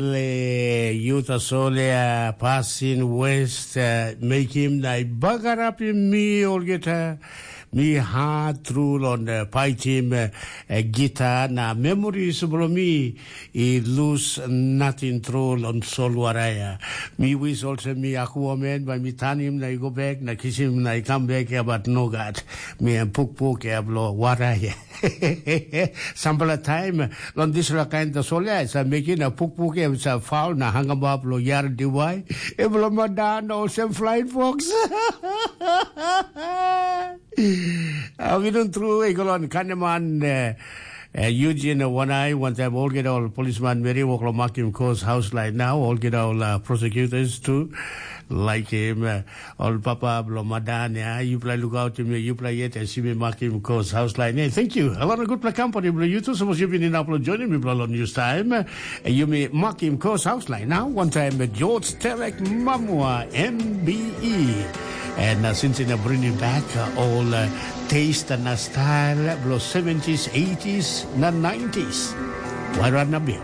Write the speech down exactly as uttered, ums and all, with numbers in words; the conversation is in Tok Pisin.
Le, yu tasol ya pasin west, uh, mekim na i bagarapim mi olgeta. Mi hat tru long, uh, paitim, uh, uh, gita na memories bilong mi i lus nating tru long solwara ya. Mi wis olsem mi akuamen bai mi tanim na i go bek na kisim na i kam bek ya, bat nogat. Mi em pukpuk ya bilong wara ya. Sampela taim long dispela kain tasol ya, sa mekim na pukpuk em sa faul na hangamap long yar diwai, em long madan olsem flying fox. Avidun tru i go long kaneman, eh, eh, Eugene Wanai, wantaim olgeta ol polisman meri wok long makim kos haus lain nau, olgeta ol, ah, prosecutors tu, laikim, eh, ol papa bilong madan ya, yupela lukautim ya, yupela yet ya, simi makim kos haus lain. Hey, thank you. A lot of good play company bilong yutu, suppose you've been in upload joining me bilong news time. Eh, yumi makim kos haus lain. Now, one time, eh, George Terek Mamua, M B E. And, uh, since in bringing back, uh, all, uh, taste and, uh, style bilong seventies, eighties, na nineties. Why run a bill?